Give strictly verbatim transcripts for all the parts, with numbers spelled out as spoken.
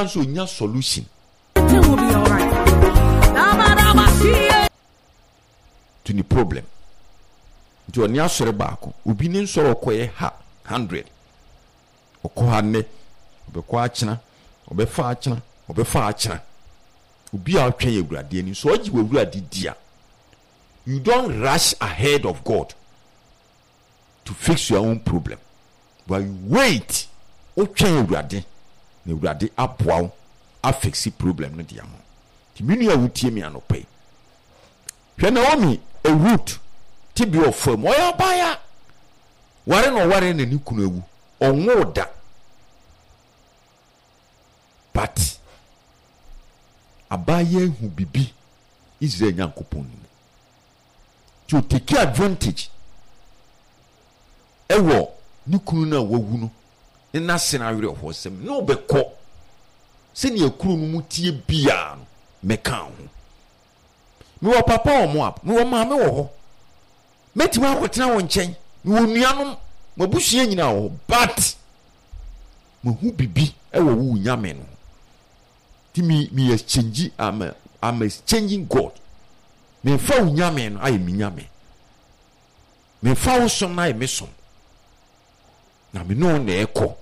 Obiara nso onya solution Everything will be all right. to ne problem. Nti ɔne asɔre baako, obi ne nsɔre ɔkɔyɛ ha hundred, ɔkɔ ha nnɛ, ɔbɛkɔ akyena, ɔbɛfa akyena, ɔbɛfa akyena. Obi a ɔtwɛn Awurade anim, sɛ ɔgye w'Awurade di a, you don't rush ahead of God to fix your own problem, but you wait. Wotwɛn Awurade na Awurade aboa wo afix problem no de ama wo. Nti me nua a wotie me anɔpa yi, hwɛ Naomi, Ruth tebea ɔfa mu, ɔyɛ abaayewa, ware na ɔware na ne kunu awu, ɔnwoo da, but abaayewa hu bibi Israel Nyankopɔn no mu, nti ɔtake advantage ɛwɔ ne kunu no a wawu no ne n'ase no awerɛhoɔ sɛm ne ɔbɛkɔ sɛnea kuro no mu tie biara no, mɛka ho. Mewɔ papa wɔ Moab, mewɔ maame wɔ hɔ, mɛtumi akɔtena wɔn nkyɛn, mewɔ nuanom, m'abusua nyinaa wɔ hɔ, but mahu bibi ɛwɔ wo Nyame no ho. Nti me me exchange, I'm, a, I'm exchanging God. Memfa wo Nyame no ayɛ me Nyame, memfa wo som no ayɛ me som, na me ne wo na ɛkɔ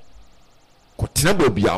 kɔtena baabi a